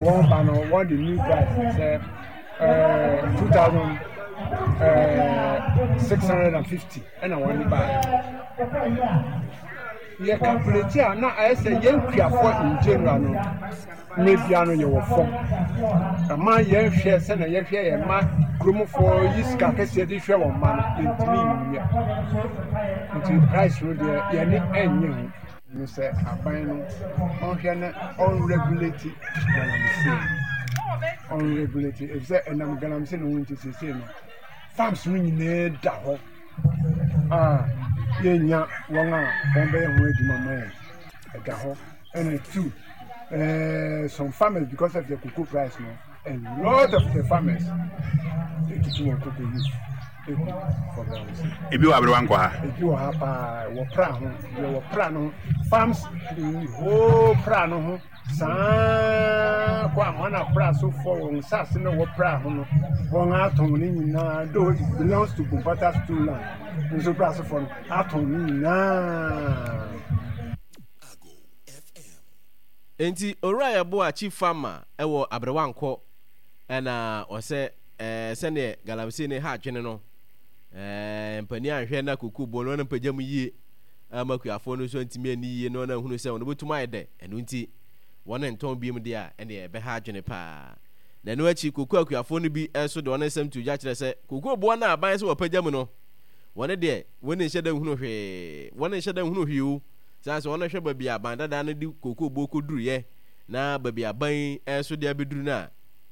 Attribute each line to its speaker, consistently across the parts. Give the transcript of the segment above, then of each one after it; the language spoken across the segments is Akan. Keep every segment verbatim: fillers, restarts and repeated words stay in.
Speaker 1: Wɔn ba no, wɔn de new price sɛ ɛɛ two thousand ɛɛ six hundred and fifty ɛna wɔn de ba. Yɛ calculate a, na ayɛ sɛ yɛn kuafoɔ in general no, mmerɛ bia no yɛwɔ fam. Ɛma yɛn hwɛ sɛnea yɛhwɛ yɛn mma, kuromfoɔ yi sika kɛseɛ de hwɛ wɔn mma no, yɛntumi nyɛ. Nti price no deɛ, yɛne ɛnyɛ ho. Ne sɛ aban no ɔnhwɛ na ɔnregulate galamsey, ɔnregulate, efisɛ ɛnam galamsey no ho nti seesei no farms no nyinaa da hɔ a yɛnnya wɔn a wɔbɛyɛ ho adwuma ma yɛn. Ɛda hɔ. Ɛna two, ɛɛ some farmers, because of the cocoa price no, a lot of the farmers etutu wɔn cocoa leaf egu for galamsey.
Speaker 2: Ebi wɔ Aberewa nkɔ ha?
Speaker 1: Ebi wɔ ha paa, wɔ pra ho, deɛ wɔ pra no ho, farms in whole pra no ho saa kɔ Amana pra so fɔ wɔn nsase na wɔ pra ho no, wɔn atɔn ne nyinaa, though it belongs to Bompata stool land nso, pra so fɔ no atɔn ne nyinaa.
Speaker 3: Enti Owura Yeboah Chief Farmer wɔ Aberewankɔ na ɔsɛ ɛɛ sɛdeɛ galamsey no ha adwene no, ɛɛ mpanin anhwɛ na koko bɔ no na mpagya mu yie ama akuafoɔ no nso antumi anni yie na wɔn ahunu sɛ wɔn bɛtum ayɛ dɛ, ɛno nti wɔn ntɔn biom deɛ a, ɛneɛ ɛbɛha adwene paa. Na ɛno akyi koko akuafoɔ no bi nso de wɔn nsɛm to dwa kyerɛ sɛ koko boɔ no a aban sɛ wɔpagya mu no, wɔn deɛ wɔn nhyɛ da nhunu hwee, wɔn nhyɛ da nhunu hwee o. Sane sɛ wɔhwɛ baabi a aban dada no de kookoo boɔ kɔduruiɛ na baabi a aban yi nso de abɛduru no a,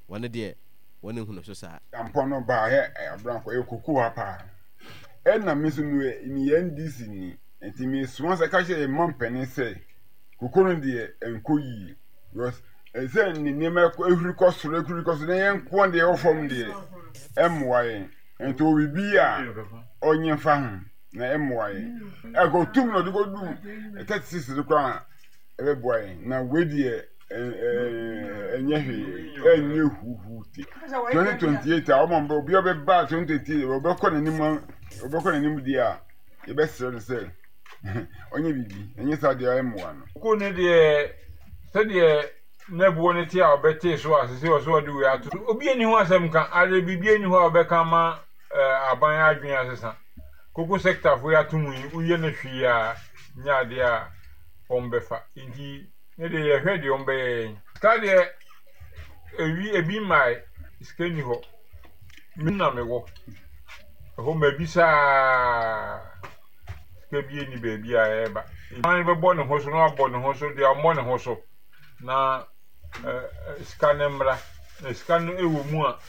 Speaker 3: wɔn deɛ wɔn nhunu so saa.
Speaker 4: Ampɔn no baa hɛ abrankɔ ɛyɛ koko ha paa. Ɛna me nso meyɛ N D C ni, nti mesoma sɛ ka kyerɛ yɛn mampanin sɛ koko no deɛ ɛnkɔ yie because ɛsɛ ne nneɛma ehuri kɔ soro, ehuri kɔ soro, na yɛn nko deɛ ɛwɔ fam deɛ ɛmmoa yɛn. Nti obi bi a ɔnyɛ mfa ho na ɛmmoa yɛn. Ɛkɔtum na ɔde kɔdu thirty six no koraa a, ɛbɛboa yɛn. Na wei deɛ ɛnyɛ hwee, ɛnyɛ huhu te. Twenty twenty eight a ɔma obi a ɔbɛba twenty twenty eight ɔbɛkɔ n'anim, ɔbɛkɔ n'anim deɛ a, yɛbɛsrɛ no sɛ ɔnyɛ biribi, ɛnyɛ saa deɛ ɛmmoa no.
Speaker 5: Koko no deɛ, sɛdeɛ na boɔ no te a ɔbɛtee so a sese ɔso ɔde wei ato so, obi ani ho asɛm ka ade, biribi ani hɔ a ɔbɛka ama aban adwene asesa. Koko sector fo yi ato mu yi, woyɛ no hwee a, nyɛ adeɛ a wɔbɛfa. Nti ne deɛ yɛhwɛ deɛ wɔbɛyɛ yɛn. Sika deɛ, ewi ebi mmae, sika nni hɔ. Me na mewɔ ɛhɔ mabisa a, sika bi nni baabi a ɛreba. Aban bɛbɔ ne ho so na wabɔ ne ho so deɛ ɔmmɔ ne ho so na sika no mmra. Na sika no wɔ mu a,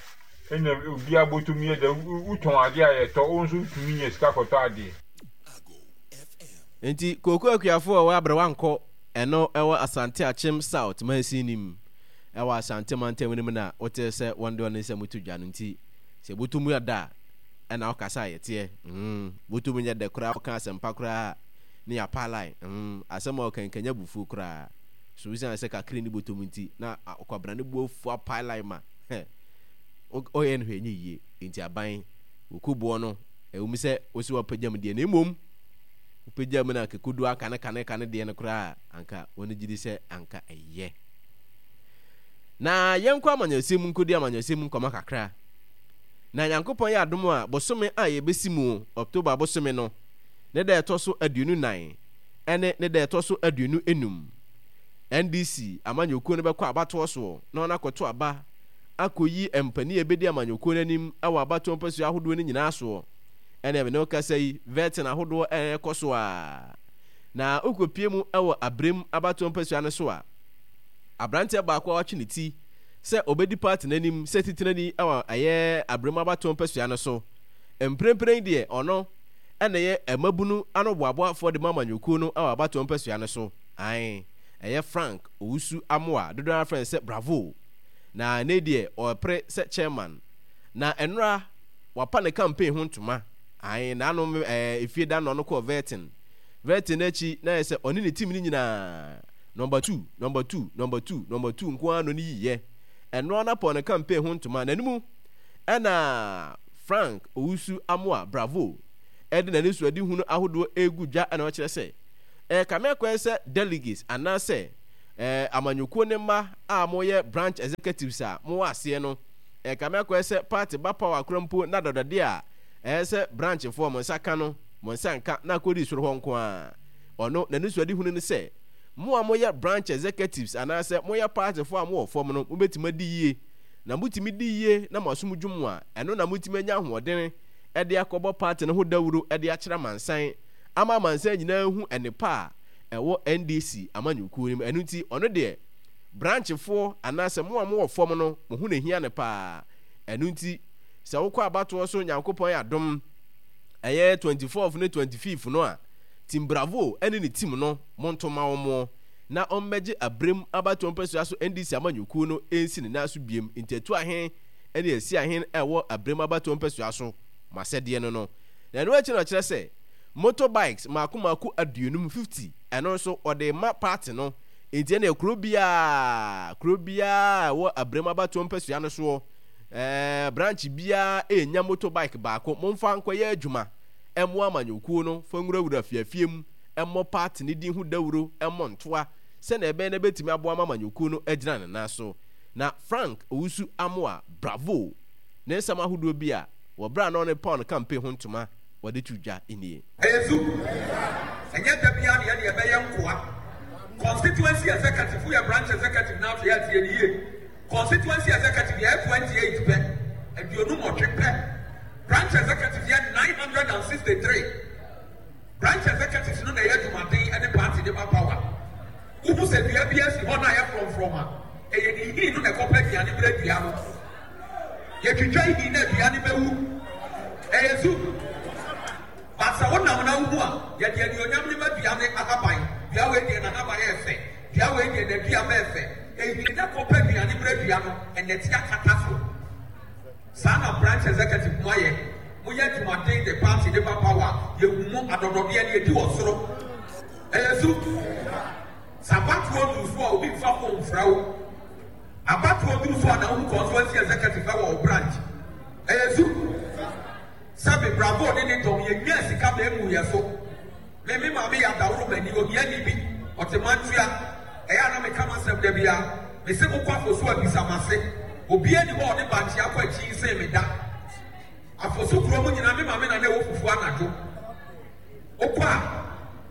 Speaker 5: ɛna obiara bɔtɔm yɛ dɛ, wotɔn adeɛ a yɛtɔ, wo nso wotumi nya sika kɔtɔ adeɛ.
Speaker 3: Enti kooko akuafo a wɔwɔ Aberewankɔ ɛno ɛwɔ Asante Akyem South mansin no mu ɛwɔ Asante mantam no mu na wotee sɛ wɔn de wɔn nsɛm to dwa no. Nti sɛ bɔtɔ mu yɛ dɛ a ɛna wokasa a yɛteɛ mm bɔtɔ mu nyɛ dɛ koraa, woka asɛmpa koraa a ne yɛapa line mm asɛm a ɔka nkanya abufuo koraa so, wosiane sɛ kakra nni bɔtɔ mu nti na ɔkwabena ne bo afu apae line ma hɛ ɔyɛ no hwɛ ɛnyɛ yie. Nti aban kooko boɔ no, ɛwom sɛ wose woapagya mu deɛ, na mmom wopagya mu no anka ɛkɔdu anka ne kane kane deɛ no koraa a, anka wɔn gye di sɛ anka ɛyɛ. Na yɛnkɔ amanyɔsɛm mu nkɔdi amanyɔsɛm mu nkɔmmɔ kakra. Na Nyankopɔn yɛ adom a, bosome a yɛbɛsi mu, October bosome no, ne da ɛtɔ so aduonu nan ɛne ne da ɛtɔ so aduonu enum, N D C amanyɔkuo no bɛkɔ abatoɔ soɔ na wɔn akɔto aba akɔyi mpanin a ɛbɛdi amanyɔkuo no anim wɔ abatoɔ mpasua ahodoɔ no nyinaa soɔ. Ɛne me ne wo kasa yi, vetting ahodoɔ ɛrekɔ so a, na wokɔpie mu wɔ Abrem abatoɔ mpasua no so a, aberanteɛ baako a watwe ne ti sɛ ɔbɛdi party no anim sɛ titenani wɔ ɛyɛ Abrem abatoɔ mpasua no so. Mprempren deɛ ɔno ɛna ɛyɛ mmabunu ano boaboafoɔ de ma amanyɔkuo no wɔ abatoɔ mpasua no so. Ae, ɛyɛ Frank Owusu Amoah, dodoɔ ara frɛ no sɛ Bravo. Na ɛnɛ deɛ ɔrepere sɛ chairman. Na ɛnora wapa ne campaign ho ntoma. Ae, n'ano ɛɛ efie da no ɔno kɔɔ vetting. Vetting no akyi na ayɛ sɛ ɔne ne team no nyinaa number two, number two, number two, number two nko ara na ɔne yiyɛ. Ɛnora no apɔ ne campaign ho ntoma. N'anim ɛna Frank Owusu Amoah Bravo ɛde n'anisoadehunu ahodoɔ regu dwa, ɛna ɔkyerɛ sɛ ɛrekame akɔyɛ sɛ delegates anaasɛ Ɛɛ amanyɔkuo ne mma a moyɛ branch executives a mowɔ aseɛ no, ɛkame akɔyɛ sɛ party ba power kora mpo na dɔdɔdeɛ a ɛyɛ sɛ branchfoɔ mo nsa ka no, mo nsa nka na akɔdi soro hɔ nko ara. Ɔno, n'anisoadehunu ne sɛ, mo a moyɛ branch executives anaasɛ moyɛ partyfoɔ a mowɔ fam no, mobɛtumi adi yie. Na motumi di yie na mo asom dwo mo a, ɛno na motumi anya ahoɔdene de akɔbɔ party no ho dawuro de akyerɛ amansan ama amansan nyinaa ahu nnepa a ɛwɔ N D C amanyɔkuo no mu. Ɛno nti, ɔno deɛ, branchfoɔ anaasɛ mo a mowɔ fam no, mo ho na ɛhia no paa. Ɛno nti, sɛ wokɔ abatoɔ so Nyankopɔn adom, ɛyɛ twenty-fourth ne twenty-fifth no a, Team Bravo ne ne team no, monto ma wɔn na ɔmmɛgye abrem abatoɔ mpasua so N D C amanyɔkuo no nsi ne nan so biem. Nti atu ahen ne asi ahen a ɛwɔ abrem abatoɔ mpasua so mo asɛdeɛ no no. Na ɛno akyi na ɔkyerɛ sɛ motor bikes mmaako mmaako aduonum, fifty, ɛno nso ɔde rema party no. Nti ɛneɛ kuro biara, kuro biara a ɛwɔ abrem abatoɔ mpasua no soɔ, ɛɛ branch biara ɛrenya motor bike baako, momfa nkɔyɛ adwuma mmoa amanyɔkuo no, fa nwurawura afiafie mu, mmɔ party no din ho dawuro, mmɔ ntoa, sɛnea ɛbɛyɛ na ɛbɛtumi aboa ma amanyɔkuo no agyina ne nan so. Na Frank Owusu Amoah Bravo ne nsɛm ahodoɔ bi a wɔ berɛ a na ɔne Paul campaign ho ntoma wɔde to dwa nie.
Speaker 2: Ɛyɛ zu. Ɛnyɛ da biara na yɛde yɛbɛyɛ nkoa. Constituency executive, woyɛ branch executive na afei a tie no yie. Constituency executive yɛyɛ twenty eight pɛ, aduonu nwɔtwe pɛ. Branch executive yɛ nine hundred and sixty three. Branch executives no na ɛyɛ adwumaden de party de ba power. Wohu sɛ dua bi asi hɔ na ayɛ frɔmfrɔm a, ɛyɛ ne nhini no na ɛkɔpɛ aduane brɛ dua no. Yɛtwitwa nhini na dua no bɛwu. Ɛyɛ zu. But sɛ wonam na wohu a, yɛde anuonyam no ma dua no ahaban. Dua wei deɛ n'ahaban yɛ fɛ. Dua wei deɛ n'aduaba yɛ fɛ. Nhini na ɛkɔpɛ aduane brɛ dua no, ɛnɛte akata so. Saa na branch executive mo ayɛ. Moyɛ adwumaden de party de ba power a, yɛhu mo adɔdɔdeɛ no yɛdi wɔ soro. Ɛyɛ su. Sɛ abatoɔ duru so a obi mfa phone mfrɛ wo. Abatoɔ duru so a na wohu constituency executive wɔ wo branch. Ɛyɛ su. Sɛbe Bravo ne ne dɔm yɛnyaa sika ma ɛmuu yɛ so. Me me maame yɛ adaworo mani, ohiani bi, ɔte mantua. Ɛyɛ a na meka m'asɛm da biara. Mese mokɔ Afosu a bisa m'ase. Obiara nni hɔ a ɔde bankye akɔ akyi sen me da. Afosu kuro mu nyinaa me maame na na ɛwɔ fufuo anadwo. Wokɔ a,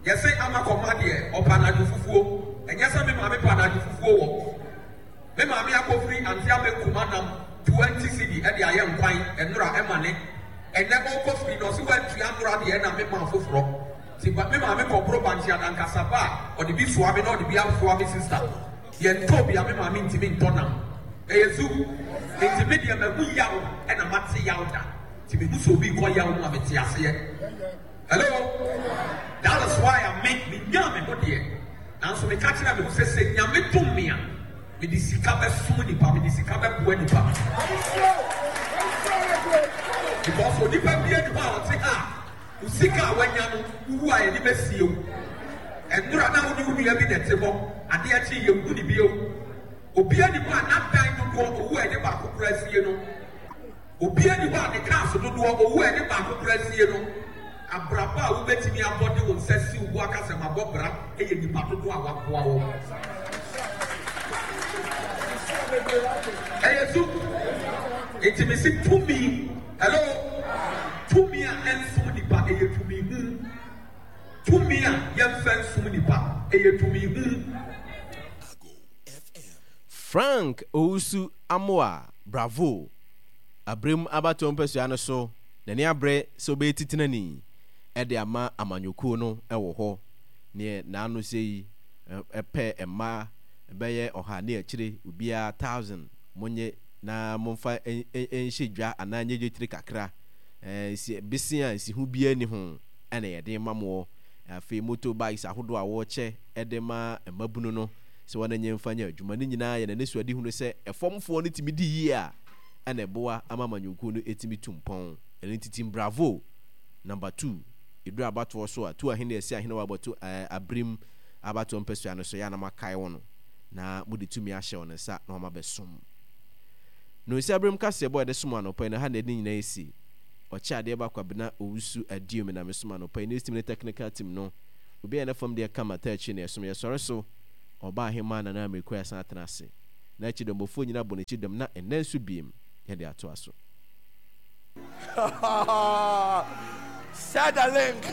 Speaker 2: yɛse ama kɔma deɛ ɔpɛ anadwo fufuo. Ɛnyɛ sɛ me maame pɛ anadwo fufuo wɔ. Me maame akɔfiri Ante Abenkum anam twenty cedi de ayɛ nkwan nnora ɛma ne. Ɛnnɛ ɔrekɔ firi no ɔse wantua nnora deɛ ɛna me maa foforɔ. Nti me maame kɔboro bankye adankasa ba a ɔde bi soa me na ɔde bi asoa me sister. Yɛntɔɔ bi a me maame ntumi ntɔ nam. Ɛyɛ zu. Nti me deɛ mahu yaw ɛna mate yaw da. Nti mehu sɛ obi rekɔ yaw mu a mete aseɛ. Hello? That is why a me, menyaa me ho deɛ. Nanso meka kyerɛɛ me ho sɛ, sɛ Nyame dom me a, mede sika bɛsom nipa, mede sika bɛboa nipa. Because onipa bi ani hɔ a ɔte ha a, wo sika a wanya no, wowu a yɛde bɛsie wo. Ɛnora na wo ne wo nua bi na ɛte hɔ, adeɛ kye yɛnhu ne bio. Obi ani hɔ a n'adan dodoɔ, owu a yɛde baako koraa sie no. Obiara nni hɔ a ne cars dodoɔ, owu a ɛde baako koraa sie no. Abrabɔ a wobɛtumi abɔ de wo nsa si wo bo aka sɛ mabɔ bra yɛ nnipa dodoɔ a waboa wo. Ɛyɛ su. Nti mese tumi, hello, tumi a ɛnsom nipa ɛyɛ tumi hu. Tumi a yɛmfa nsom nipa ɛyɛ tumi hu.
Speaker 3: Frank Owusu Amoah Bravo! Abrem abatoɔ mpasua no so, n'ani abre sɛ ɔbɛyɛ titenani de ama amanyɔkuo no wɔ hɔ. Neɛ n'ano sɛ yi pɛ mma bɛyɛ ɔha ne akyire, obiara thousand monye na momfa nhyɛ dwa anaa nyɛ dwetire kakra. Nsi bese a nsiho biara nni ho na yɛde rema moɔ. Afei motor bikes ahodoɔ a wɔrekyɛ de ma mmabunu no, sɛ wɔn nyɛ mfa nyɛ adwuma. Ne nyinaa yɛ n'anisoadehunu sɛ ɛfamfoɔ no tumi di yie a, ɛna ɛboa ama amanyɔkuo no tumi tu mpɔn. Ɛno nti Team Bravo number two, ɛduru abatoɔ so a, tu ahene asi ahene wɔ abɔto ɛɛ abirim abatoɔ mpasua no so, yɛ a na moakae wɔn na mode tumi ahyɛ wɔn nsa na wɔn abɛsom. Nonsi abirim kaseɛbɔ a yɛde som anɔpa yi no, ha na yɛde ne nyinaa asi. Ɔkyɛ adeɛ ba Kwabena Owusu Aduomi na mesom anɔpa yi. News team ne technical team no, obiara yɛ ne fam deɛ kama, taa akyiri na yɛsom. Yɛsɔre so. Ɔbaa Hemaa Nana Amirikuah san atena ase. Na akyidɔmmɔfoɔ nyinaa bɔ n'akyi dɔm na ɛnnɛ nso biem yɛde atoa so.
Speaker 6: Share the link.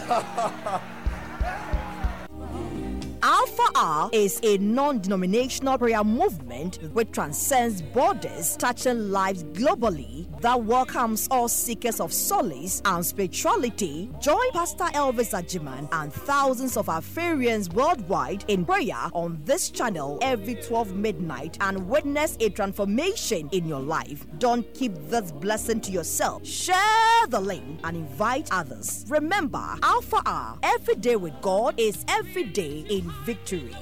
Speaker 7: Alpha R is a non denominational prayer movement which transcends borders, touching lives globally, that welcomes all seekers of solace and spirituality. Join Pastor Elvis Ajiman and thousands of Alpharians worldwide in prayer on this channel every twelve midnight and witness a transformation in your life. Don't keep this blessing to yourself. Share the link and invite others. Remember, Alpha R, every day with God is every day in victory.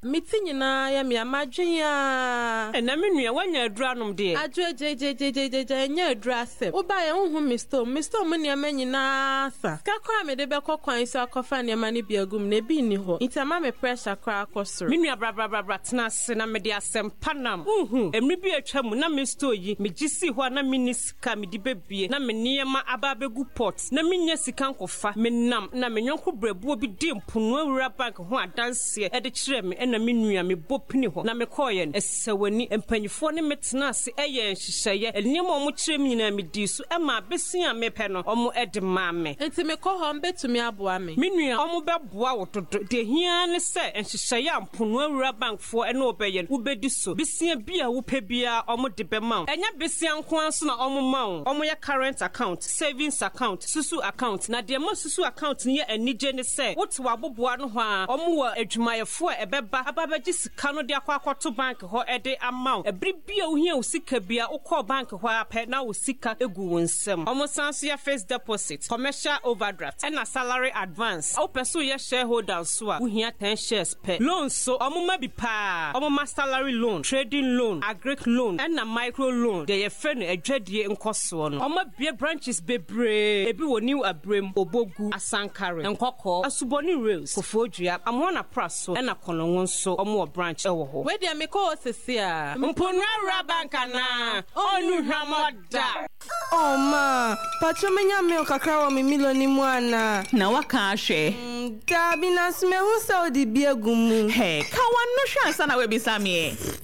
Speaker 8: Me ti nyinaa yɛ me a madwen aa.
Speaker 9: Ɛnɛ me nua woanya aduru anom deɛ.
Speaker 8: Adwo gyegyeegyegya ɛnyɛ aduru asɛm. Wobaeɛ wonhu me store mu. Me store mu nneɛma nyinaa asa. Sika koraa a mede bɛkɔ kwan so akɔfa nneɛma no bi agu mu no ebi nni hɔ. Nti ama me pressure koraa akɔ soro.
Speaker 9: Me nua bra bra bra bra tena ase na mede asɛm pa nam. Wonhu, mmere bi a atwa mu na me store yi megye sii hɔ a na menni sika a mede bɛbue na me nneɛma aba abɛgu pot na mennya sika nkɔfa. Menam na me yɔnko brɛboɔ bi dii Mponoa Rural Bank ho adanseɛ de kyerɛɛ me ɛna me nua mebɔ pini hɔ na mekɔeɛ no, ɛsɛ w'ani. Mpanimfoɔ ne me tenaa ase yɛɛ nhyehyɛeɛ. Nneɛma a wɔkyerɛɛ me nyinaa medii so maa bɛsua a mepɛ no, wɔde maa me.
Speaker 8: Enti mekɔ hɔ a, wɔbɛtumi aboa me?
Speaker 9: Me nua, wɔbɛboa wo dodo. Deɛ ɛhia ara ne sɛ nhyehyɛeɛ a Mponoa Rural Bankfoɔ ne wo bɛyɛ no, wobɛdi so. Besia bi a wopɛ biara, wɔde bɛma wo. Ɛnyɛ besia nko ara nso na wɔma wo. Wɔyɛ current account, savings account, susu account. Na deɛ ɛma susu account no yɛ anigye ne sɛ, wote w'aboboano hɔ ara, wɔwɔ adwumayɛfoɔ a ɛbɛba aba abɛgye sika no de akɔ akɔto bank hɔ de ama wo. Ɛbere bi a wohia wo sika biara, wokɔɔ bank hɔ ara pɛ na wo sika gu wo nsam. Wɔsan nso yɛ fixed deposit, commercial overdraft, ɛna salary advance. Wopɛ sɛ woyɛ shareholder nso a, wohia ten shares pɛ. Loan nso, wɔma bi paa. Wɔma salary loan, trading loan, agric loan, ɛna micro loan, deɛ yɛfrɛ no adwadie nkɔsoɔ no. Wɔabue branches bebree, ebi wɔ New Abrem, Obogu, Asankare, Nkɔkɔɔ, Asubɔne Rails, Koforidua, Amoana Praso, ɛna Konongo nso wɔwɔ branch wɔ hɔ.
Speaker 8: Wei deɛ mekɔ hɔ sese a.
Speaker 9: Mponua Rural Bank anaa? Ɔnnu hwammɔ da!
Speaker 10: Oh ma, patrɔ menya milk kakra wɔ me Milo no mu anaa?
Speaker 11: Na waka ahwɛ.
Speaker 10: Mm, daabi, nanso mahu sɛ wode bi agu mu.
Speaker 11: Hey, ka w'ano hwɛ ansa na woabisa me ɛ.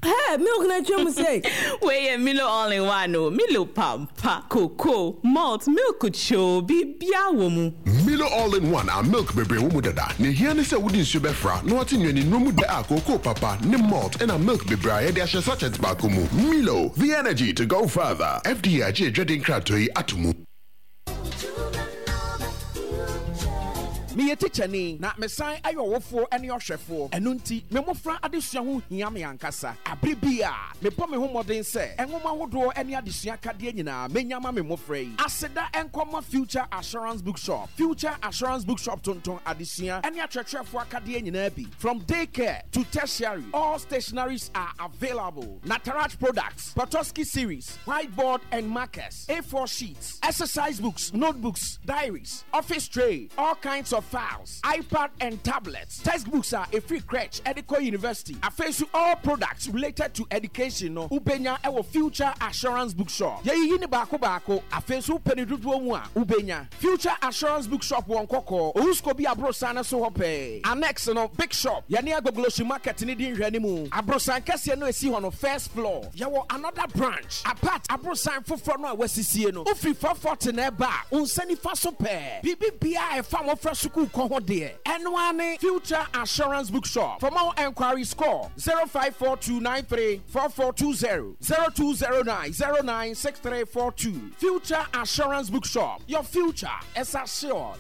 Speaker 10: Hey, milk na atwa mu sei.
Speaker 11: Wei yɛ Milo all in one o. Milo pampa, cocoa, malt, milk kyoo, biribiara wɔ mu.
Speaker 12: Milo all in one a milk bebree wɔ mu dada. Nea ehia ne sɛ wode nsuo bɛfra na woate nnuanennuro mu dɛ a kookoo papa ne malt ɛna milk bebree a yɛde ahyɛ sachet baako mu. Milo, the energy to go further. F D A agye adwadie nkratoɔ yi ato mu.
Speaker 13: Meyɛ tikyani na mesan yɛ ɔwofoɔ ne ɔhwɛfoɔ, ɛno nti me mmofra adesua ho hia me ankasa. Abere bi a mebɔ me ho mmɔden sɛ nwoma ahodoɔ ne adesua akadeɛ nyinaa menya ma me mmofra yi. Aseda nkɔma Future Assurance Bookshop. Future Assurance Bookshop tontɔn adesua ne akyerɛkyerɛfoɔ akadeɛ nyinaa bi. From daycare to tertiary, all stationaries are available. Nataraj products, Petoskey series, whiteboard and markers, A four sheets, exercise books, notebooks, diaries, office tray, all kinds of files, iPad and tablets. Textbooks are a free crèche, Ediko University. Afei all products related to education no, wobɛnya ɛwɔ Future Assurance Bookshop. Yɛyiyi ne baako baako, afei nso wopɛ ne dodoɔ mu a, wobɛnya. Future Assurance Bookshop wɔ Nkɔkɔɔ, Owusko bi aborosan no so hɔ pɛɛ. Annex no, Big Shop, yɛne Agbogbloshie Market ne di nhwɛanimu. Aborosan kɛseɛ no esi hɔ no, first floor. Yɛwɔ another branch, apart aborosan foforɔ no a wɔasisie no. Wofiri four forty na ɛba a, wo nsa nifa so pɛɛ. Biribi biara a ɛfa mmɔfra sukuu kɔ ho deɛ, ɛno ara ne Future Assurance Bookshop. For more enquiries, call zero five four two nine three four four two zero, zero two zero nine zero nine six three four two. Future Assurance Bookshop. Your future is assured.